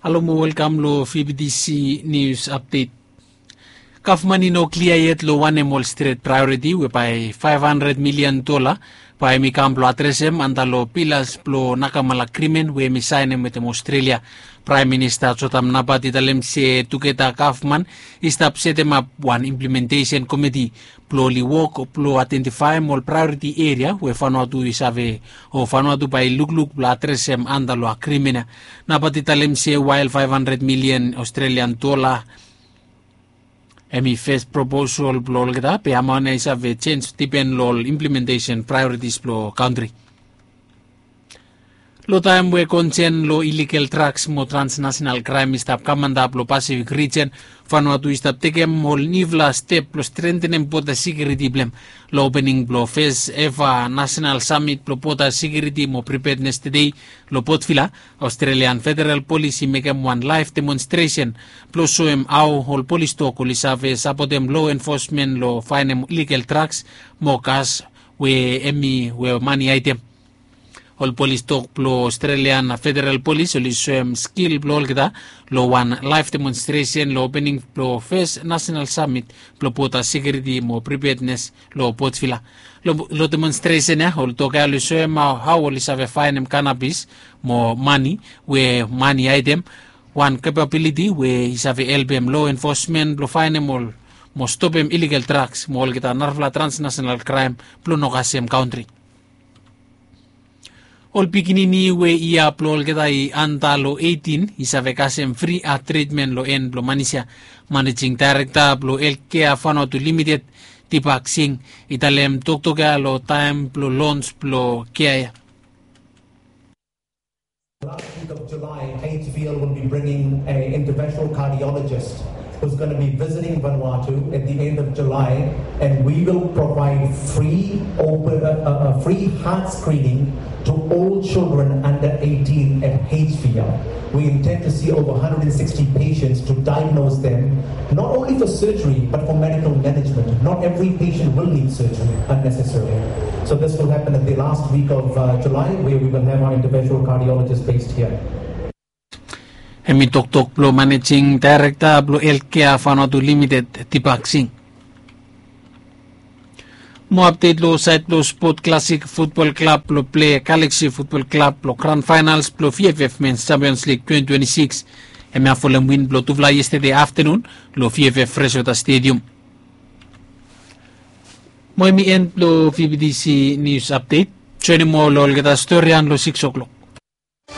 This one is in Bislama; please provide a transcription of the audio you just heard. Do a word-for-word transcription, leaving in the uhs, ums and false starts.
Halo mo welkam lo V B T C News Update. Gavman i no klia yet lo wanem ol stret praeoriti we bae faef handred milian dola bae hemi kam blo adresem anda lo pilas blo nakamala agrimen we hemi saenem wetem Ostrelia. Praem Minista Jotham Napat i talem se tugeta gavman i stap setemap wan implementesen komiti blo oli wok blo aedentifaem ol praeoriti eria we Vanuatu i save o Vanuatu bae i lukluk blo adresem anda lo agrimen ya. Napat i talem se wael faef handred milian Ostrelian dola hemi fes proposal blo olgeta be amaon ya i save jenj dipen lo ol implementesen praeoritis blo kantri. Lo taem we konsen lo iligal draks mo transnasenal kraem i stap kam antap lo Pasifik rijen, Vanuatu i stap tekem ol niufala step blo strentenem boda sekiuriti blong hem. Lo opening blo fes eva nasenal samit blo boda sekiuriti mo pripednes tedei lo Port Vila, Australian Federal Police i mekem wan laef demonstresen blo soem hao ol polis dog oli save sapotem lo enfosmen lo faenem iligal draks mo gas we hemi we mani aedem. Ol polis dog blo Australian Federal Police oli soem skil blo olgeta lo wan laef demonstresen lo opening blo fes nasenal samit blo boda sekiuriti mo pripednes lo Port Vila. Lo demonstresen ya ol dog ya oli soem hao oli save faenem kanabis mo mani we mani aedem, wan kapabiliti we i save helpem lo enfosmen blo faenem ol mo stopem iligal draks mo olgeta narafala transnasenal kraem blo no kasem kantri. Ol pikinini we yia blo olgeta i anda lo eitin i save kasem fri hat tritmen lo en blo Manisia. Manejing daerekta blo Elkea Vanuatu Limited, Deepak Singh, i talem toktok ya lo taem blo lons blo kea ya. Last week of July, H V L will be bringing an interventional cardiologist who's going to be visiting Vanuatu at the end of July, and we will provide free open, uh, uh, uh, free heart screening to all children under eighteen at H V L. We intend to see over one hundred sixty patients to diagnose them, not only for surgery, but for medical management. Not every patient will need surgery unnecessarily. So this will happen at the last week of uh, July, where we will have our interventional cardiologist based here. Hemi toktok blo manejing daerekta blo Elkea Vanuatu Limited, Deepak Singh. Mo apdet lo saed blo Sport Classic Futbol Klab blo ple Galaxy Futbol Klab lo gran faenals blo V F F Men's Champions League twenty twenty-six. Hemia folem win blo tufala yestede aftenun lo V F F Freshwater Stadium. Mo hemi en blo V B T C News Update. Joenem moa lo olgeta storian lo six o'clock.